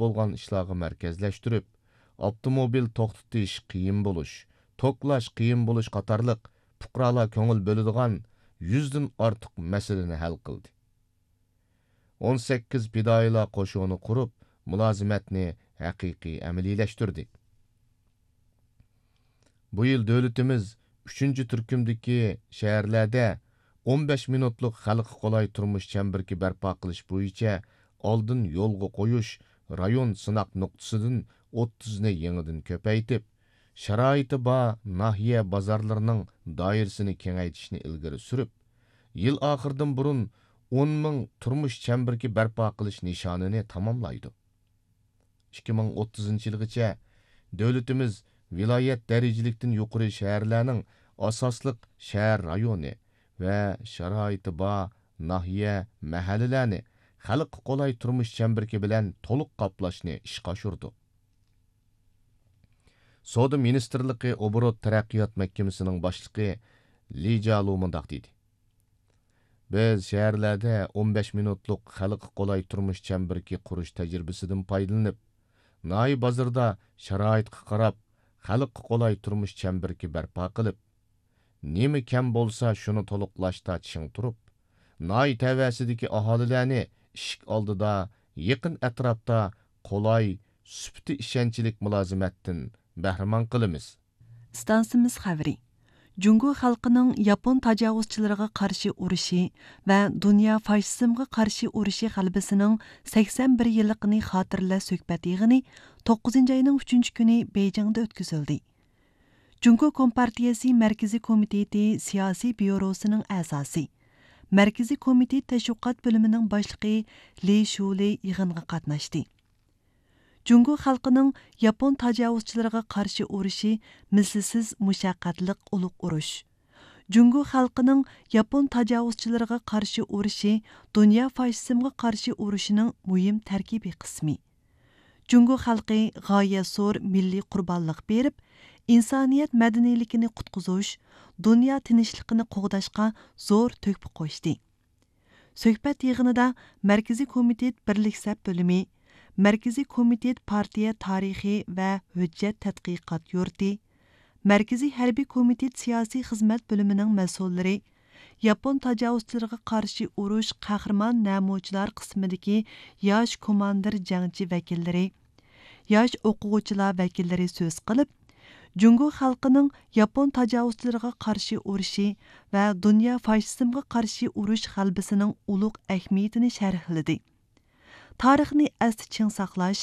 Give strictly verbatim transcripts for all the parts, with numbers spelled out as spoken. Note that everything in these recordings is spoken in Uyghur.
بولغان ئىشلارغا مەركەزلەشتۈرۈپ، ئاپتوموبىل توختىتىش قىيىن بولۇش، توكلاش قىيىن بولۇش قاتارلىق پۇقرالار كۆڭۈل بۆلىدىغان يۈزدىن ئارتۇق مەسىلىنى ھەل قىلدى. ئون سەككىز پىدائىيلار قوشۇنى قۇرۇپ، مۇلازىمەتنى ھەقىقىي ئەمەلىيلەشتۈردى. بۇ يىل دۆلىتىمىز ئۈچىنچى تۈركۈمدىكى شەھەرلەردە ئون بەش مىنۇتلۇق خەلققە قولاي تۇرمۇش چەمبىرىكى بەرپا قىلىش بويىچە ئالدىن يولغا قويۇش رايون سىناق نۇقتىسىدىن ئوتتۇزنى يېڭىدىن كۆپەيتىپ، شارائىتى بار ناھىيە بازارلىرىنىڭ دائىرىسىنى كېڭەيتىشنى ئىلگىرى سۈرۈپ، يىل ئاخىرىدىن بۇرۇن ئون مىڭ تۇرمۇش چەمبىرىكى بەرپا قىلىش نىشانىنى تاماملايدۇ. ئىككى مىڭ ئوتتۇزىنچى يىلغىچە دۆلىتىمىز ۋىلايەت دەرىجىلىكتىن يۇقىرى شەھەرلەرنىڭ ئاساسلىق شەھەر رايونى ۋە شارائىتى بار ناھىيە، مەھەللىلەرنى خەلققە قولاي تۇرمۇش چەمبىرىكى بىلەن تولۇق قاپلاشنى ئىشقا ئاشۇردۇق. سودا مىنىستىرلىقى ئوبوروت تەرەققىيات مەھكىمىسىنىڭ باشلىقى لى جالۇ مۇنداق دېدى: بىز شەھەرلەردە ئون بەش مىنۇتلۇق خەلققە قولاي تۇرمۇش چەمبىرىكى قۇرۇش تەجرىبىسىدىن پايدىلىنىپ، ناھىيە بازىرىدا شارائىتقا قاراپ، خەلققە قولاي تۇرمۇش چەمبىرىكى بەرپا قىلىپ، نېمە كەم بولسا، شۇنى تولۇقلاشتا چىڭ تۇرۇپ، ناھىيە تەۋەسىدىكى ئاھالىلەرنى ئىشىك ئالدىدا، يېقىن ئەتراپتا قولاي، سۈپىتى ئىشەنچلىك مۇلازىمەتتىن بەھرىمەن قىلىمىز. ئىستانسىمىز خەۋىرى. جۇڭگو خەلقىنىڭ ياپون تاجاۋۇزچىلىرىغا قارشى ئۇرۇشى ۋە دۇنيا فاشىزمغا قارشى ئۇرۇشى غەلىبىسىنىڭ سەكسەن بىر يىللىقىنى خاتىرىلەش سۆھبەت يىغىنى توققۇزىنچى ئاينىڭ ئۈچىنچى كۈنى بېيجىڭدا ئۆتكۈزۈلدى. جۇڭگو كومپارتىيەسى مەركىزىي كومىتېتى سىياسىي بيۇروسىنىڭ ئەزاسى، مەركىزىي كومىتېت تەشۋىقات بۆلۈمىنىڭ باشلىقى لى شۇلى يىغىنغا قاتناشتى. جۇڭگو خەلقىنىڭ ياپون تاجاۋۇزچىلىرىغا قارشى ئۇرۇشى مىسلىسىز مۇشەققەتلىك ئۇلۇغ ئۇرۇش. جۇڭگو خەلقىنىڭ ياپون تاجاۋۇزچىلىرىغا قارشى ئۇرۇشى دۇنيا فاشىزمغا قارشى ئۇرۇشىنىڭ مۇھىم تەركىبىي قىسمى. جۇڭگو خەلقى غايەت زور مىللىي قۇربانلىق بېرىپ، ئىنسانىيەت مەدەنىيلىكىنى قۇتقۇزۇش، دۇنيا تىنچلىقىنى قوغداشقا زور تۆھپە قوشتى. سۆھبەت يىغىنىدا مەركىزىي كومىتېت بىرلىك سەپ بۆلۈمى، مەركىزىي كومىتېت پارتىيە تارىخى ۋە ھۆججەت تەتقىقات يۇرتى، مەركىزىي ھەربىي كومىتېت سىياسىي خىزمەت بۆلۈمىنىڭ مەسئۇللىرى، ياپون تاجاۋۇزچىلىرىغا قارشى ئۇرۇش قەھرىمان نەمۇچىلار قىسمىدىكى ياش كوماندىر جەڭچى ۋەكىللىرى، ياش ئوقۇغۇچىلار ۋەكىللىرى سۆز قىلىپ، جۇڭگو خەلقىنىڭ ياپون تاجاۋۇزچىلىرىغا قارشى ئۇرۇشى ۋە دۇنيا فاشىزمغا قارشى ئۇرۇش غەلىبىسىنىڭ ئۇلۇغ ئەھمىيىتىنى شەرھلىدى. تارىخنى ئەستە چىڭ ساقلاش،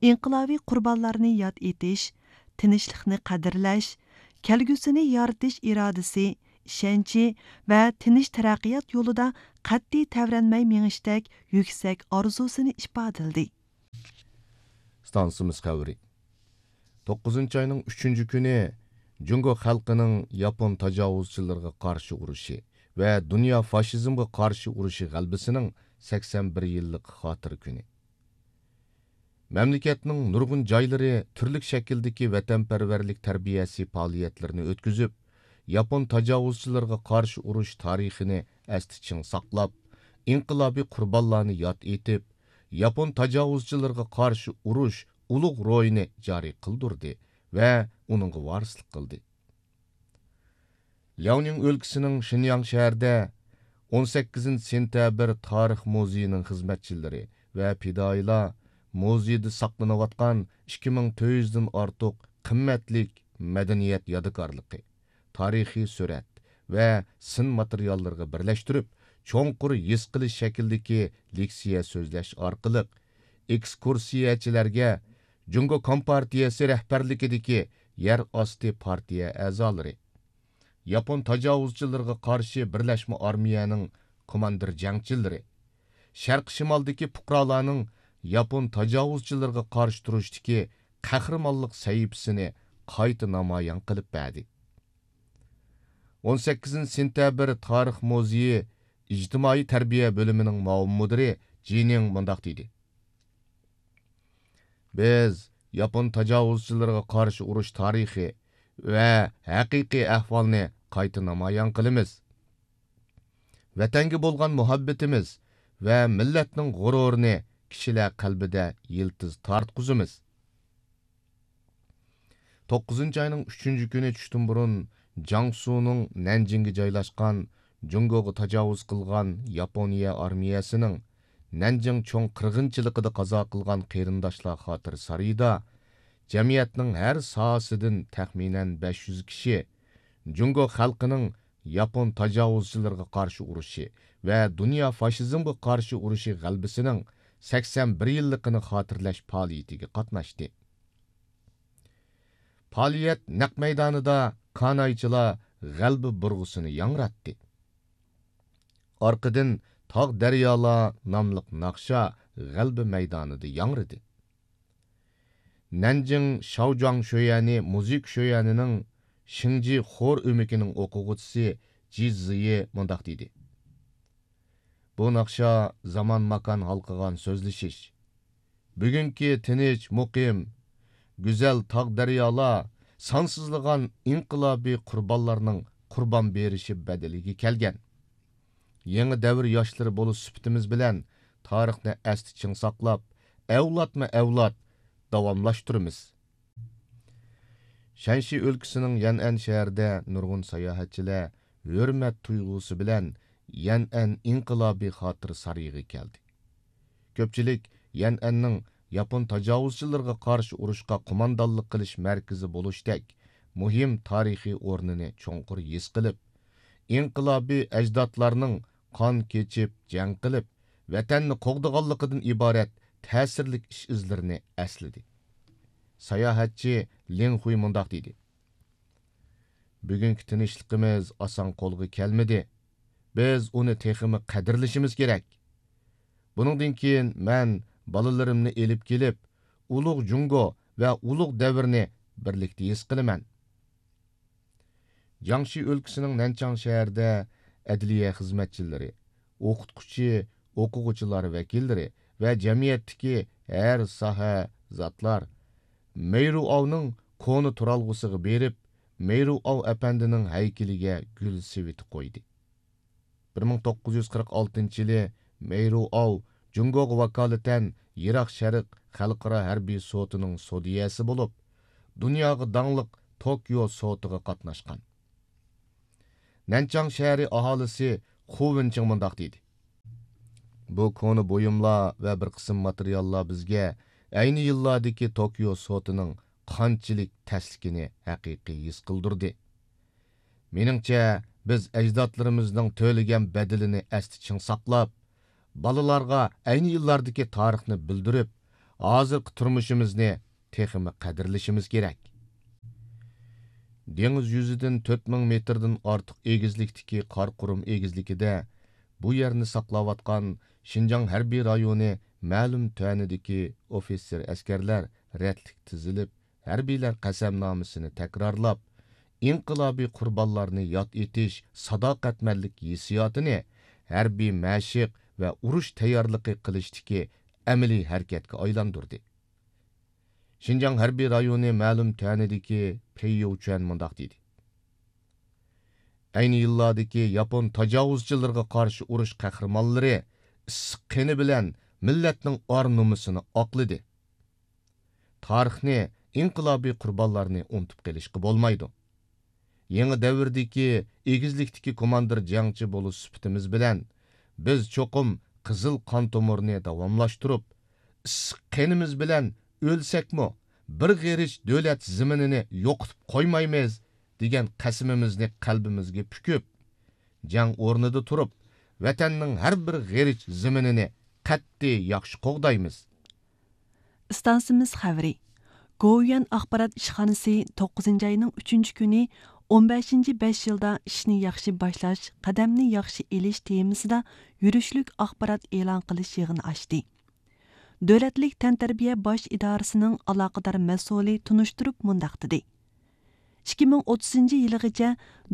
ئىنقىلابىي قۇربانلارنى ياد ئېتىش، تىنچلىقنى قەدىرلەش، كەلگۈسىنى يارىتىش ئىرادىسى، ئىشەنچى ۋە تىنچ تەرەققىيات يولىدا قەتئىي تەۋرەنمەي مېڭىشتەك يۈكسەك ئارزۇسىنى ئىپادىلىدى. ئىستانسىمىز خەۋىرى. توققۇزىنچى ئاينىڭ ئۈچىنچى كۈنى جۇڭگو خەلقىنىڭ ياپون تاجاۋۇزچىلىرىغا قارشى ئۇرۇشى ۋە دۇنيا فاشىزمغا قارشى ئۇرۇشى غەلىبىسىنىڭ سەكسەن بىر يىللىق خاتىرە كۈنى. مەملىكەتنىڭ نۇرغۇن جايلىرى تۈرلۈك شەكىلدىكى ۋەتەنپەرۋەرلىك تەربىيەسى پائالىيەتلىرىنى ئۆتكۈزۈپ، ياپون تاجاۋۇزچىلىرىغا قارشى ئۇرۇش تارىخىنى ئەستە چىڭ ساقلاپ، ئىنقىلابىي قۇربانلارنى ياد ئېتىپ، ياپون تاجاۋۇزچىلىرىغا قارشى ئۇرۇش ئۇلۇغ روھىنى جارى قىلدۇردى ۋە ئۇنىڭغا ۋارىسلىق قىلدى. لياۋنىڭ ئۆلكىسىنىڭ شىنياڭ شەھىرىدە ئون سەككىزىنچى سېنتەبىر تارىخ مۇزېيىنىڭ خىزمەتچىلىرى ۋە پىدائىيلار مۇزېيدا ساقلىنىۋاتقان ئىككى مىڭ تۆت يۈزدىن ئارتۇق قىممەتلىك مەدەنىيەت يادىكارلىقى، تارىخىي سۈرەت ۋە سىن ماتېرىياللىرىغا بىرلەشتۈرۈپ، چوڭقۇر ھېس قىلىش شەكلىدىكى لېكسىيە سۆزلەش ئارقىلىق، ئېكسكۇرسىيەچىلەرگە جۇڭگو كومپارتىيەسى رەھبەرلىكىدىكى يەر ئاستى پارتىيە ئەزالىرى، ياپون تاجاۋۇزچىلىرىغا قارشى بىرلەشمە ئارمىيەنىڭ كوماندىر جەڭچىلىرى، شەرقىي شىمالدىكى پۇقرالارنىڭ ياپون تاجاۋۇزچىلىرىغا قارشى تۇرۇشتىكى قەھرىمانلىق سەھىپىسىنى قايتا نامايان قىلىپ بەردى. ئون سەككىزىنچى سېنتەبىر تارىخ مۇزېيى ئىجتىمائىي تەربىيە بۆلۈمىنىڭ مۇئاۋىن مۇدىرى جىنىڭ مۇنداق دېدى: بىز ياپون تاجاۋۇزچىلىرىغا قارشى ئۇرۇش تارىخى ۋە ھەقىقىي ئەھۋالنى قايتا نامايان قىلىمىز. ۋەتەنگە بولغان مۇھەببىتىمىز ۋە مىللەتنىڭ غۇرۇرىنى كىشىلەر قەلبىدە يىلتىز تارتقۇزىمىز. توققۇزىنچى ئاينىڭ ئۈچىنچى كۈنى چۈشتىن بۇرۇن جياڭسۇنىڭ نەنجىڭگە جايلاشقان جۇڭگوغا تاجاۋۇز قىلغان ياپونىيە ئارمىيەسىنىڭ نەنجىڭ چوڭ قىرغىنچىلىقىدا قازا قىلغان قېرىنداشلار خاتىرە سارىيىدا جەمئىيەتنىڭ ھەر ساھەسىدىن تەخمىنەن بەش يۈز كىشى جۇڭگو خەلقىنىڭ ياپون تاجاۋۇزچىلىرىغا قارشى ئۇرۇشى ۋە دۇنيا فاشىزمغا قارشى ئۇرۇشى غەلىبىسىنىڭ سەكسەن بىر يىللىقىنى خاتىرىلەش پائالىيىتىگە قاتناشتى. پائالىيەت نەق مەيدانىدا كانايچىلار غەلىبە بۇرغىسىنى ياڭراتتى. ئارقىدىن تاغ دەريالار ناملىق ناخشا غەلىبە مەيدانىدا ياڭرىدى. نەنجىڭ شاۋجۇاڭ شۆيەنى مۇزىكا شۆيەنىنىڭ شىڭجى خور ئۆمىكىنىڭ ئوقۇغۇچىسى جى زىيى مۇنداق دېدى: بۇ ناخشا زامان ماكان ھالقىغان سۆزلىشىش. بۈگۈنكى تىنچ، مۇقىم، گۈزەل تاغ دەريالار سانسىزلىغان ئىنقىلابىي قۇربانلارنىڭ قۇربان بېرىشى بەدىلىگە كەلگەن. يېڭى دەۋر ياشلىرى بولۇش سۈپىتىمىز بىلەن تارىخنى ئەستە چىڭ ساقلاپ، ئەۋلادمۇ ئەۋلاد داۋاملاشتۇرىمىز. شەنشى ئۆلكىسىنىڭ يەنئەن شەھىرىدە نۇرغۇن ساياھەتچىلەر ھۆرمەت تۇيغۇسى بىلەن يەنئەن ئىنقىلابىي خاتىرە سارىيىغا كەلدى. كۆپچىلىك يەنئەننىڭ ياپون تاجاۋۇزچىلىرىغا قارشى ئۇرۇشقا قوماندانلىق قىلىش مەركىزى بولۇشتەك مۇھىم تارىخىي ئورنىنى چوڭقۇر ھېس قىلىپ، ئىنقىلابىي ئەجدادلارنىڭ قان كېچىپ، جەڭ قىلىپ، ۋەتەننى قوغدىغانلىقىدىن ئىبارەت تەسىرلىك ئىش-ئىزلىرىنى ئەسلىدى. ساياھەتچى لىڭ خۇي مۇنداق دېدى: بۈگۈنكى تىنچلىقىمىز ئاسان قولغا كەلمىدى. بىز ئۇنى تېخىمۇ قەدىرلىشىمىز كېرەك. بۇنىڭدىن كېيىن مەن بالىلىرىمنى ئېلىپ كېلىپ، ئۇلۇغ جۇڭگو ۋە ئۇلۇغ دەۋرنى بىرلىكتە ھېس قىلىمەن. جياڭشى ئۆلكىسىنىڭ نەنچاڭ شەھىرىدە ئەدلىيە خىزمەتچىلىرى، ئوقۇتقۇچى، ئوقۇغۇچىلار ۋەكىللىرى ۋە جەمئىيەتتىكى ھەر ساھە زاتلار مەيرۇئاۋنىڭ كونا تۇرالغۇسىغا بېرىپ، مەيرۇئاۋ ئەپەندىنىڭ ھەيكىلىگە گۈل سېۋىتى قويدى. بىر مىڭ توققۇز يۈز قىرىق ئالتىنچى يىلى مەيرۇئاۋ جۇڭگوغا ۋاكالىتەن يىراق شەرق خەلقئارا ھەربىي سوتىنىڭ سودىيەسى بولۇپ، دۇنياغا داڭلىق توكيو سوتىغا قاتناشقان. نەنچاڭ شەھىرى ئاھالىسى خۇ ۋېنچىڭ مۇنداق دېدى: بۇ كونا بۇيۇملار ۋە بىر قىسىم ماتېرىياللار بىزگە ئەينى يىللاردىكى توكيو سوتىنىڭ قانچىلىك تەسلىكىنى ھەقىقىي ھېس قىلدۇردى. مېنىڭچە، بىز ئەجدادلىرىمىزنىڭ تۆلىگەن بەدىلىنى ئەستە چىڭ ساقلاپ، بالىلارغا ئەينى يىللاردىكى تارىخنى بىلدۈرۈپ، ھازىرقى تۇرمۇشىمىزنى تېخىمۇ قەدىرلىشىمىز كېرەك. دېڭىز يۈزىدىن تۆت مىڭ مېتىردىن ئارتۇق ئېگىزلىكتىكى قاراقۇرۇم ئېگىزلىكىدە بۇ يەرنى ساقلاۋاتقان شىنجاڭ ھەربىي رايونى مەلۇم تۆۋەنىدىكى ئوفىتسېر ئەسكەرلەر رەتلىك تىزىلىپ، ھەربىيلەر قەسەمنامىسىنى تەكرارلاپ، ئىنقىلابىي قۇربانلارنى ياد ئېتىش ساداقەتمەنلىك ھېسسىياتىنى ھەربىي مەشىق ۋە ئۇرۇش تەييارلىقى قىلىشتىكى ئەمەلىي ھەرىكەتكە ئايلاندۇردى. شىنجاڭ ھەربىي رايونى مەلۇم تۆۋەنىدىكى پېي يوچۈەن مۇنداق دېدى: ئەينى يىللاردىكى ياپون تاجاۋۇزچىلىرىغا قارشى ئۇرۇش قەھرىمانلىرى ئىسسىق قېنى بىلەن مىللەتنىڭ ئار نومۇسىنى ئاقلىدى. تارىخنى، ئىنقىلابىي قۇربانلارنى ئۇنتۇپ قېلىشقا بولمايدۇ. يېڭى دەۋردىكى ئېگىزلىكتىكى كوماندىر جەڭچى بولۇش سۈپىتىمىز بىلەن، بىز چوقۇم قىزىل قان تومۇرنى داۋاملاشتۇرۇپ، ئىسسىق قېنىمىز بىلەن ئۆلسەكمۇ، بىر غېرىچ دۆلەت زېمىنىنى يوقىتىپ قويمايمىز، دېگەن قەسىمىمىزنى قەلبىمىزگە پۈكۈپ، جەڭ ئورنىدا تۇرۇپ، ۋەتەننىڭ ھەر بىر غېرىچ زېمىنىنى قەتئىي ياخشى قوغدايمىز. ئىستانسىمىز خەۋىرى. گوۋۇيۈەن ئاخبارات ئىشخانىسى توققۇزىنچى ئاينىڭ ئۈچىنچى كۈنى «ئون بەشىنچى بەش يىلدا ئىشنى ياخشى باشلاش، قەدەمنى ياخشى ئېلىش» تېمىسىدا يۈرۈشلۈك ئاخبارات ئېلان قىلىش يىغىنى ئاچتى. دۆلەتلىك تەنتەربىيە باش ئىدارىسىنىڭ ئالاقىدار مەسئۇلى تونۇشتۇرۇپ مۇنداق دېدى: ئىككى مىڭ ئوتتۇزىنچى يىلىغىچە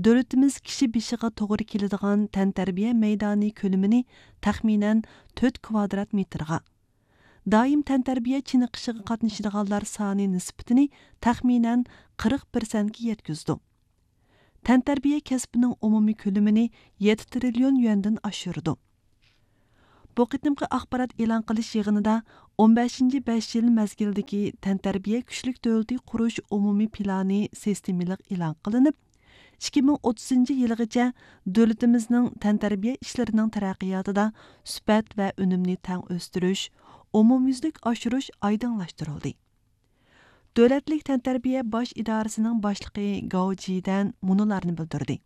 دۆلىتىمىز كىشى بېشىغا توغرا كېلىدىغان تەنتەربىيە مەيدانى كۆلىمىنى تەخمىنەن تۆت كۋادرات مېتىرغا، دائىم تەنتەربىيە چېنىقىشىغا قاتنىشىدىغانلار سانى نىسبىتىنى تەخمىنەن قىرىق پىرسەنتكە يەتكۈزىدۇ. تەنتەربىيە كەسپىنىڭ ئومۇمىي كۆلىمىنى يەتتە تىرىليون يۈەندىن ئاشۇرىدۇ. بۇ قېتىمقى ئاخبارات ئېلان قىلىش يىغىنىدا ئون بەشىنچى بەش يىل مەزگىلدىكى تەنتەربىيە كۈچلۈك دۆلىتى قۇرۇش ئومۇمىي پىلانى سىستېمىلىق ئېلان قىلىنىپ، ئىككى مىڭ ئوتتۇزىنچى يىلىغىچە دۆلىتىمىزنىڭ تەنتەربىيە ئىشلىرىنىڭ تەرەققىياتىدا سۈپەت ۋە ئۈنۈمنى تەڭ ئۆستۈرۈش، ئومۇميۈزلۈك ئاشۇرۇش ئايدىڭلاشتۇرۇلدى. دۆلەتلىك تەنتەربىيە باش ئىدارىسىنىڭ باشلىقى گاۋ جىدەن مۇنۇلارنى بىلدۈردى: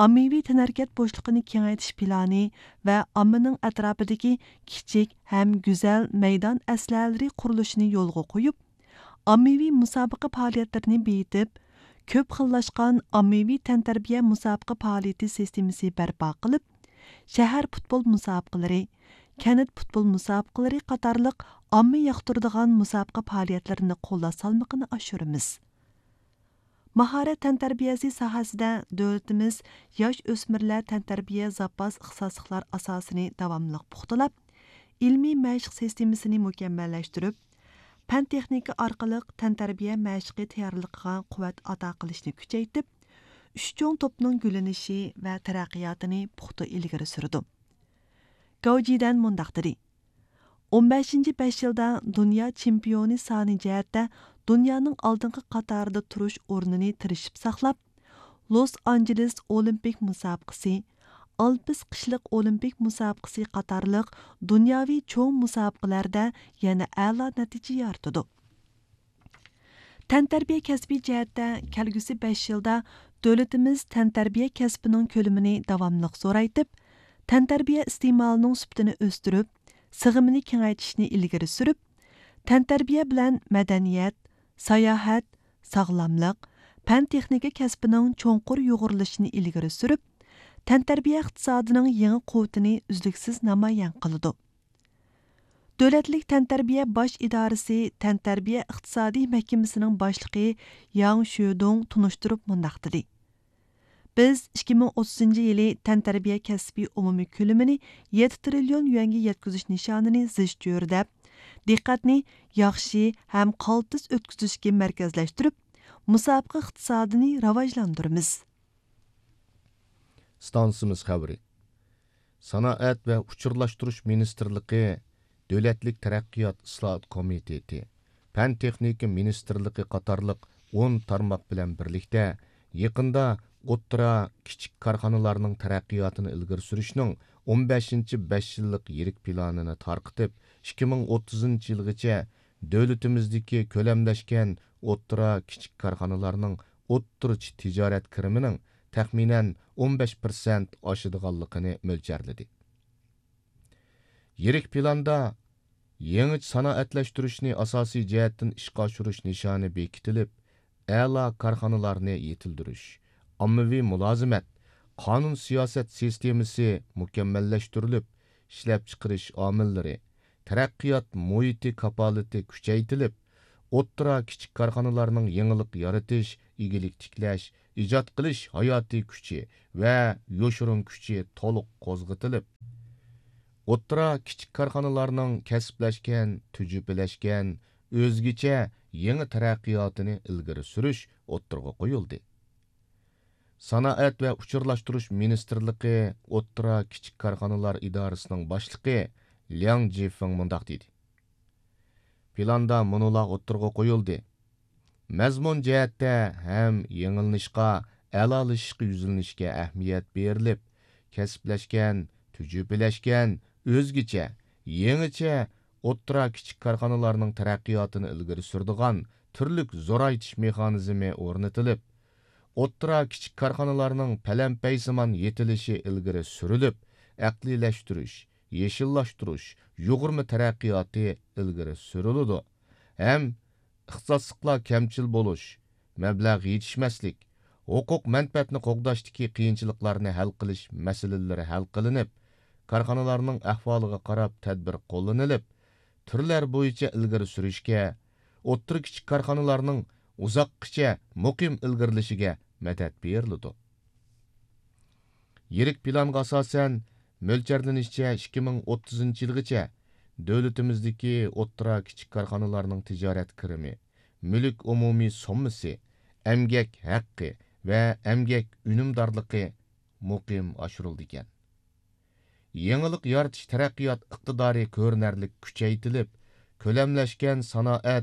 ئاممىۋى تەنھەرىكەت بوشلۇقىنى كېڭەيتىش پىلانى ۋە ئاممىنىڭ ئەتراپىدىكى كىچىك ھەم گۈزەل مەيدان ئەسلىھەلىرى قۇرۇلۇشىنى يولغا قويۇپ، ئاممىۋى مۇسابىقە پائالىيەتلىرىنى بېيىتىپ، كۆپ خىللاشقان ئاممىۋى تەنتەربىيە مۇسابىقە پائالىيىتى سىستېمىسى بەرپا قىلىپ، شەھەر پۇتبول مۇسابىقىلىرى، كەنت پۇتبول مۇسابىقىلىرى قاتارلىق ئامما ياقتۇرىدىغان مۇسابىقە پائالىيەتلىرىنى قوللاش سالمىقىنى ئاشۇرىمىز. ماھارەت تەنتەربىيەسى ساھەسىدە دۆلىتىمىز ياش ئۆسمۈرلەر تەنتەربىيە زاپاس ئىختىساسلىقلار ئاساسىنى داۋاملىق پۇختىلاپ، ئىلمىي مەشىق سىستېمىسىنى مۇكەممەللەشتۈرۈپ، پەن تېخنىكا ئارقىلىق تەنتەربىيە مەشىقى تەييارلىقىغا قۇۋۋەت ئاتا قىلىشنى كۈچەيتىپ، ئۈچ چوڭ توپنىڭ گۈللىنىشى ۋە تەرەققىياتىنى پۇختا ئىلگىرى سۈرىدۇ. گاۋ جىدەن مۇنداق دېدى: ئون بەشىنچى بەش يىلدا دۇنيا چېمپىيونى سانى جەھەتتە دۇنيانىڭ ئالدىنقى قاتارىدا تۇرۇش ئورنىنى تىرىشىپ ساقلاپ، لوس ئانژېلېس ئولىمپىك مۇسابىقىسى، ئالپس قىشلىق ئولىمپىك مۇسابىقىسى قاتارلىق دۇنياۋى چوڭ مۇسابىقىلەردە يەنە ئەلا نەتىجە يارىتىدۇ. تەنتەربىيە كەسپى جەھەتتە كەلگۈسى بەش يىلدا دۆلىتىمىز تەنتەربىيە كەسپىنىڭ كۆلىمىنى داۋاملىق زورايتىپ، تەنتەربىيە ئىستېمالىنىڭ سۈپىتىنى ئۆستۈرۈپ، سىغىمىنى كېڭەيتىشنى ئىلگىرى سۈرۈپ، تەنتەربىيە بىلەن مەدەنىيەت، ساياھەت، ساغلاملىق، پەن تېخنىكا كەسپىنىڭ چوڭقۇر يۇغۇرۇلۇشىنى ئىلگىرى سۈرۈپ، تەنتەربىيە ئىقتىسادىنىڭ يېڭى قۇۋۋىتىنى ئۈزلۈكسىز نامايان قىلىدۇ. دۆلەتلىك تەنتەربىيە باش ئىدارىسى تەنتەربىيە ئىقتىسادىي مەھكىمىسىنىڭ باشلىقى ياڭ شۆدۇڭ تونۇشتۇرۇپ مۇنداق دېدى: بىز ئىككى مىڭ ئوتتۇزىنچى يىلى تەنتەربىيە كەسپى ئومۇمىي كۆلىمىنى يەتتە تىرىليون يۈەنگە يەتكۈزۈش نىشانىنى زىچ چۆرىدەپ، دىققەتنى ياخشى ھەم قالتىس ئۆتكۈزۈشكە مەركەزلەشتۈرۈپ، مۇسابىقە ئىقتىسادىنى راۋاجلاندۇرىمىز. ئىستانسىمىز خەۋىرى. سانائەت ۋە ئۇچۇرلاشتۇرۇش مىنىستىرلىقى، دۆلەتلىك تەرەققىيات ئىسلاھات كومىتېتى، پەن تېخنىكا مىنىستىرلىقى قاتارلىق ئون تارماق بىلەن بىرلىكتە يېقىندا ئوتتۇرا، كىچىك كارخانىلارنىڭ تەرەققىياتىنى ئىلگىرى سۈرۈشنىڭ ئون بەشىنچى بەش يىللىق يىرىك پىلانىنى تارقىتىپ، ئىككى مىڭ ئوتتۇزىنچى يىلغىچە دۆلىتىمىزدىكى كۆلەملەشكەن ئوتتۇرا، كىچىك كارخانىلارنىڭ ئوتتۇرىچە تىجارەت كىرىمىنىڭ تەخمىنەن ئون بەش پىرسەنت ئاشىدىغانلىقىنى مۆلچەرلىدى. يىرىك پىلاندا يېڭىچە سانائەتلەشتۈرۈشنى ئاساسىي جەھەتتىن ئىشقا ئاشۇرۇش نىشانى بېكىتىلىپ، ئەلا كارخانىلارنى يېتىلدۈرۈش، ئاممىۋى مۇلازىمەت، قانۇن سىياسەت سىستېمىسى مۇكەممەللەشتۈرۈلۈپ، ئىشلەپچىقىرىش ئامىللىرى، تەرەققىيات مۇھىتى كاپالىتى كۈچەيتىلىپ، ئوتتۇرا، كىچىك كارخانىلارنىڭ يېڭىلىق يارىتىش، ئىگىلىك تىكلەش، ئىجاد قىلىش ھاياتىي كۈچى ۋە يوشۇرۇن كۈچى تولۇق قوزغىتىلىپ، ئوتتۇرا، كىچىك كارخانىلارنىڭ كەسىپلەشكەن، تۈجۈپىلەشكەن، ئۆزگىچە يېڭى تەرەققىياتىنى ئىلگىرى سۈرۈش ئوتتۇرىغا قويۇلدى. سانائەت ۋە ئۇچۇرلاشتۇرۇش مىنىستىرلىقى ئوتتۇرا، كىچىك كارخانىلار ئىدارىسىنىڭ باشلىقى لياڭ جىفېڭ مۇنداق دېدى: پىلاندا مۇنۇلار ئوتتۇرىغا قويۇلدى. مەزمۇن جەھەتتە ھەم يېڭىلىنىشقا، ئەلالىشىشقا يۈزلىنىشكە ئەھمىيەت بېرىلىپ، كەسىپلەشكەن، تۈجۈپىلەشكەن، ئۆزگىچە، يېڭىچە ئوتتۇرا، كىچىك كارخانىلارنىڭ تەرەققىياتىنى ئىلگىرى سۈرىدىغان تۈرلۈك زورايتىش مېخانىزمى ئورنىتىلىپ، ئوتتۇرا، كىچىك كارخانىلارنىڭ پەلەمپەيسىمان يېتىلىشى ئىلگىرى سۈرۈلۈپ، ئەقلىيلەشتۈرۈش، يېشىللاشتۇرۇش، يۇغۇرما تەرەققىياتى ئىلگىرى سۈرۈلىدۇ ھەم ئىختىساسلىقلار كەمچىل بولۇش، مەبلەغ يېتىشمەسلىك، ھوقۇق مەنپەئەتنى قوغداشتىكى قىيىنچىلىقلارنى ھەل قىلىش مەسىلىلىرى ھەل قىلىنىپ، كارخانىلارنىڭ ئەھۋالىغا قاراپ تەدبىر قوللىنىلىپ، تۈرلەر بويىچە ئىلگىرى سۈرۈشكە، ئوتتۇرا، كىچىك كارخانىلارنىڭ ئۇزاققىچە مۇقىم ئىلگىرىلىشىگە مەدەت بېرىلىدۇ. يىرىك پىلانغا ئاساسەن، مۆلچەرلىنىشىچە، ئىككى مىڭ ئوتتۇزىنچى يىلغىچە دۆلىتىمىزدىكى ئوتتۇرا، كىچىك كارخانىلارنىڭ تىجارەت كىرىمى، مۈلۈك ئومۇمىي سوممىسى، ئەمگەك ھەققى ۋە ئەمگەك ئۈنۈمدارلىقى مۇقىم ئاشۇرۇلىدىكەن. يېڭىلىق يارىتىش تەرەققىيات ئىقتىدارى كۆرۈنەرلىك كۈچەيتىلىپ، كۆلەملەشكەن سانائەت،